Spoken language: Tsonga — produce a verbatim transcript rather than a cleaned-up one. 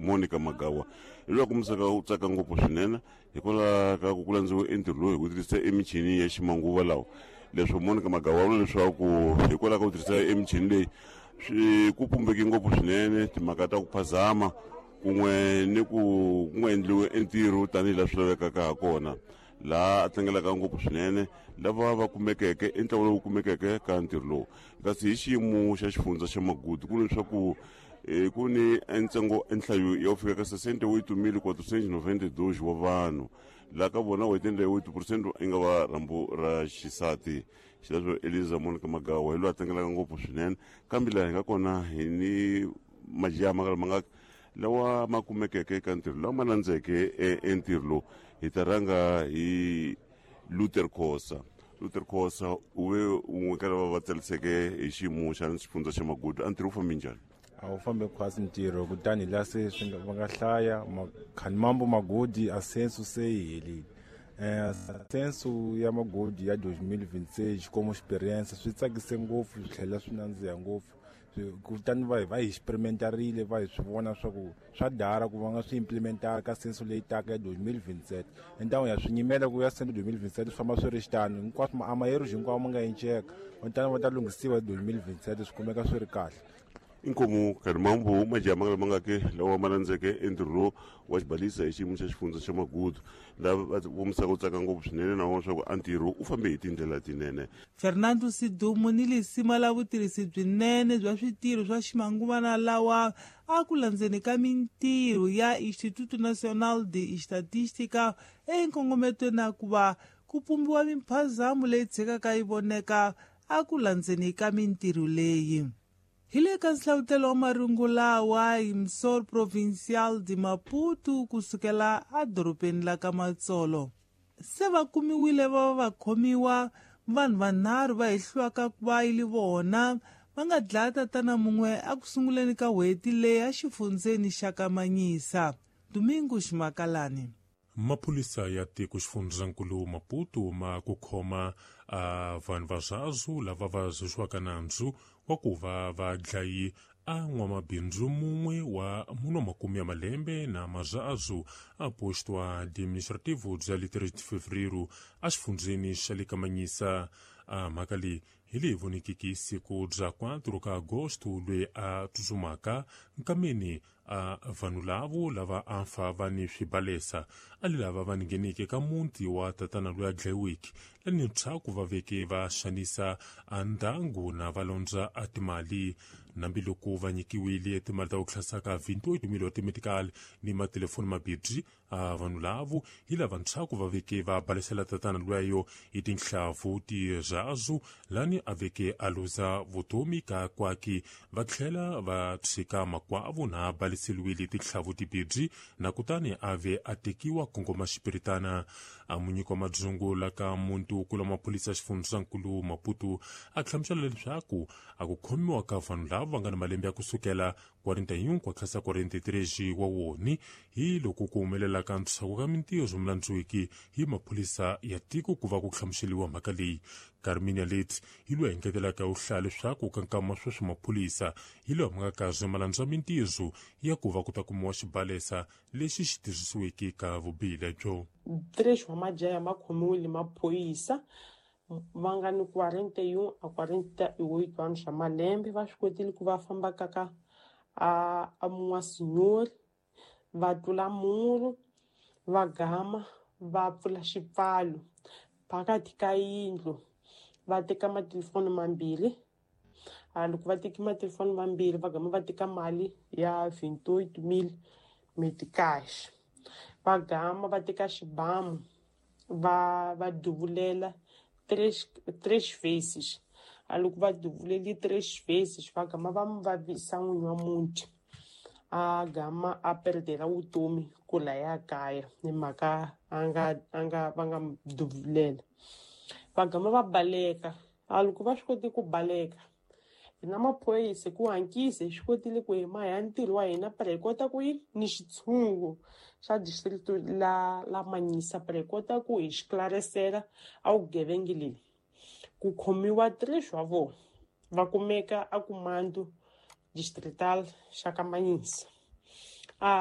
Monica Magawa hi loyi a kombisaka u tsaka ngopfu swinene hikwalaho ka ku ku landziwe entirho lowu hi ku tirhisa emichini ya ximanguva lawa. Leswo Monica Magawa vula leswaku hikwalaho ka ku tirhisa emichini leyi swi ku pumbeke ngopfu swinene timhaka ta ku phazama kun'we ni ku ku nga endliwi entirho tanihi laha swi lavekaka ha kona. Laha a tlangelaka ngopfu swinene lava va kumekeke i ntlawa lowu kumekeke ka ntirho lowu. Kasi hi xiyimo xa xifundza xa Magudu ku leswaku ku ni ntsengo nhlayo ya ku fika ka sessenta e oito mil quatrocentos e noventa e dois wa vanhu laha ka vona oitenta e oito por cento i nga va rhambu ra xisati. Xileswo Eliza Monica Magawa hi loyi a tlangelaka ngopfu swinene. Kambe laha hi nga kona hi ni majaha ma nga ma nga lawa ma kumekeke eka ntirho lawa ma landzeke entirho lowu. Hi ta rhanga hi Luther Khosa. Luther Khosa u ve un'we ka lava va tsariseke hi xiyimo xa xifundza xa Magudu. A ntirho wu fambe njhani? A wu fambe khwatsi ntirho kutani laha se swi nga va nga hlaya Khanimambo Magodi a censo se yi helile. Eh censo ya Magodi ya dois mil e vinte e seis como experiência swi tsakise ngopfu swi tlhela swi nandziha ngopfu. Kutani va va hi experimentarile va hi swi vona swa ku swa dara ku va nga swi implementara ka censo leyi taka ya dois mil e vinte e sete. Entangwe ya swi nyimela ku ya censo dois mil e vinte e sete swi famba swi ri xitano hinkwaswo a mayero hinkwawo ma nga enceka kutani va ta lunghisiwa dois mil e vinte e sete swi kumeka swi ri kahle. Inkomu Khanimambo majaha ma nga ma nga ke lawa ma landzeke entirho lowu wa xibalisa hi xiyimo xa xifundza xa Magudu lava va vomisaka ku tsaka ngopfu swinene na vona leswaku a ntirho u fambe hi tindlela tinene. Fernando Sidumo ni lisima la vutirhisi byinene bya switirho swa ximanguvana lawa a ku landzeni ka mintirho ya Instituto Nacional de Estatística enkongometweni na ku va ku pumbiwa mimphazamo leyi tshikaka yi voneka a ku landzeni ka mintirho leyi. Hi le ka nhlavutelo wa marungu lawa hi Emissor Provincial de Maputo kusukela edorobeni la ka Matsolo. Se va kumiwile va va khomiwa vanhu vanharhu va hehliwaka ku va yi li vona va nga dlaya tatana mun'we eku sunguleni ka n'hweti leyi exifundzeni xa ka Manyisa. Domingo Ximakalani. Maphorisa ya tiko xifundzankulu Maputo ma ku khoma a vanhu va zwazu lava va zuxiwaka nandzu wa ku va va dlayi a n'wamabindzu mun'we wa muno makume ya malembe na mazazu a posto administrativo bya le três de fevereiro exifundzeni xa le ka Manyisa. A mhaka leyi hi leyi vonekiki siku bya quatro ka agosto loyi a tsutsumaka nkameni a vanhu lavo lava a fa va ni swibalesa a li lava va ngheneke ka muti wa tatana loyi a dlayiweke lani ntshaku va veke va xanisa a ndyangu na va londza a timali. Nambiloko va nyikiwile timali ta ku hlasaka vinte e oito mil wa ni matelefoni mabirhi a vanhu lavo hi lava ntshaku va veke va balesela tatana lweyo hi tinhlavu tirhazu lani a veke a luza vutomi ka kwaki va tlhela va tshika makwavo na baleseliwile tinhlavu tibirhi na kutani a ve a tekiwa kongoma xipiritana. A munyiki wa madzungu la ka muntu kula maphorisa xifundzankulu Maputo a hlamusela leswaku a ku khomiwa ka vanhu lava va nga na malembe ya kusukela quarenta e um ku tlhasa quarenta e três wa woni hi loko ku humelela ka ntshaku ka mintirho mulandziwiki hi maphorisa ya tiko ku va ku hlamuseliwa mhaka leyi. Carmina Leti hi loyi engetelaka u hlaya leswaku ka nkama sweswi maphorisa hi lawa ma nga kazi ma landza mintirho ya ku va ku ta kumiwa xibalesa lexi xi tirhisiweke ka vubihi lebyo. Três wa majaha ma khomiwile maphorisa va nga ni quarenta e um a quarenta e oito anos swa malembe va swi kotile ku va famba kaka a a mun'wa senhor va tlula muru va gama va pfula xipfalo phakathi ka yindlu va teka matelefoni mambirhi. A loko va teki matelefoni mambirhi va gama va teka mali ya vinte e oito mil meticais va gama va teka xibamu va va duvulela três três vezes. A loko va duvuleli três vezes va gama va mu vavisa n'winyi wa muti a gama a perdela vutomi ku laya kaya hi mhaka a nga a nga va nga mu duvulela. Va gama va baleka. A loko va swi koti ku baleka hina maphorisa ku hankisa hi swi kotile ku hi ma ya ntirho wa hina para hi kota ku yi ni xitshungu xa district la la Manyisa para hi kota ku hi xiklarisela a vugevenga leyi ku khomiwa três wa vona va kumeka a kumando distrital xa ka Manyisa.